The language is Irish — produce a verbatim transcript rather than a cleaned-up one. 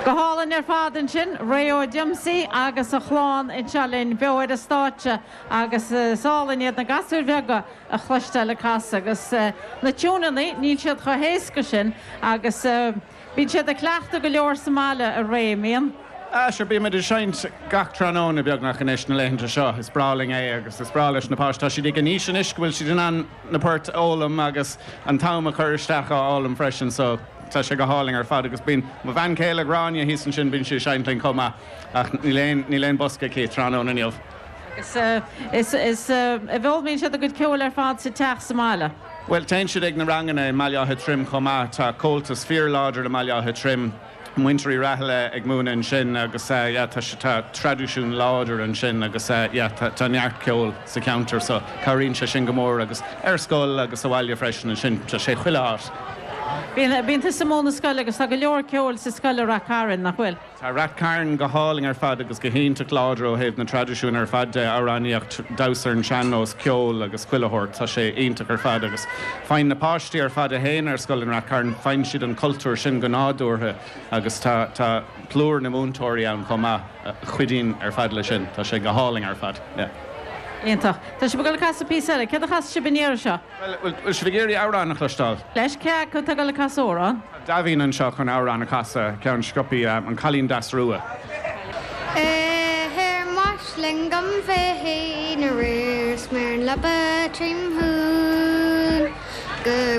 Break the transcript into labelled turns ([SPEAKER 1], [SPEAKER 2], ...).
[SPEAKER 1] Go hálainn ar fad ansin, Ray Ó Diomsaí agus a chlann anseo linn beo ar an stáitse agus is álainn iad na gasúir bheaga a chloisteáil ag casadh agus na tiúineanna, níl siad chomh héasca sin agus bíonn siad ag cleachtadh go leor sa mbaile a Ray, an mbíonn?
[SPEAKER 2] Ah, sure, bímid ag seinnt gach tráthnóna beagnach anois na laethanta seo. Is breá linn é agus is breá leis na páistí. Tá siad ag an aois anois go bhfuil siad in ann na poirt a fhoghlaim agus an t-am a chur isteach á fhoghlaim freisin so tá sé go hálainn ar fad agus bíonn mo bhean chéile Gráinne thíos ansin bíonn sí ag seinnt linn chomh maith ach níl aon níl aon bosca aici tráthnóna inniu.
[SPEAKER 1] Agus is is an bhfoghlaimíonn siad a gcuid ceoil ar fad sa teach sa mbaile?
[SPEAKER 2] Bhuel téann siad ag na ranganna i mBaile Átha Troim chomh maith. Tá Comhaltas fíorláidir i mBaile Átha Troim. Muintir Uí Rathaille ag múineadh ansin agus yeah tá tá traidisiún láidir ansin agus yeah tá tá neart ceoil sa cheantar so cabhraíonn sé sin go mór agus ar scoil agus sa bhaile freisin ansin tá sé chuile áit.
[SPEAKER 1] Bíonn bíonn tusa ag múineadh scoile agus tá go leor ceoil sa scoil i Rath Cairn, nach bhfuil?
[SPEAKER 2] Tá Rath Cairn go hálainn ar fad agus go hiontach láidir ó thaobh na traidisiúin ar fad de, amhránaíocht, damhsa ar an sean-nós, ceol agus chuile shórt. Tá sé iontach ar fad agus faigheann na páistí ar fad a théann ar scoil in Rath Cairn, faigheann siad an cultúr sin go nádúrtha agus tá tá plúr na múinteoirí ann chomh maith a chuidíonn ar fad leis sin. Tá sé go hálainn ar fad. Yeah.
[SPEAKER 1] Iontach. Tá sibh ag dul ag casadh píosa eile. Céard a chasfaidh sibh an iarraidh seo?
[SPEAKER 2] Bhuel, bhfuil sibh ag iarraidh amhrán a chloisteáil?
[SPEAKER 1] Leis, cé acu atá ag dul ag casadh amhrán?
[SPEAKER 2] Tá Daimhín anseo chun amhrán a chasadh, ceann sciobtha, An Cailín Deas Rua.
[SPEAKER 3] Ar m'aisling dom féin aréir 's mé ar an leaba trím shuan go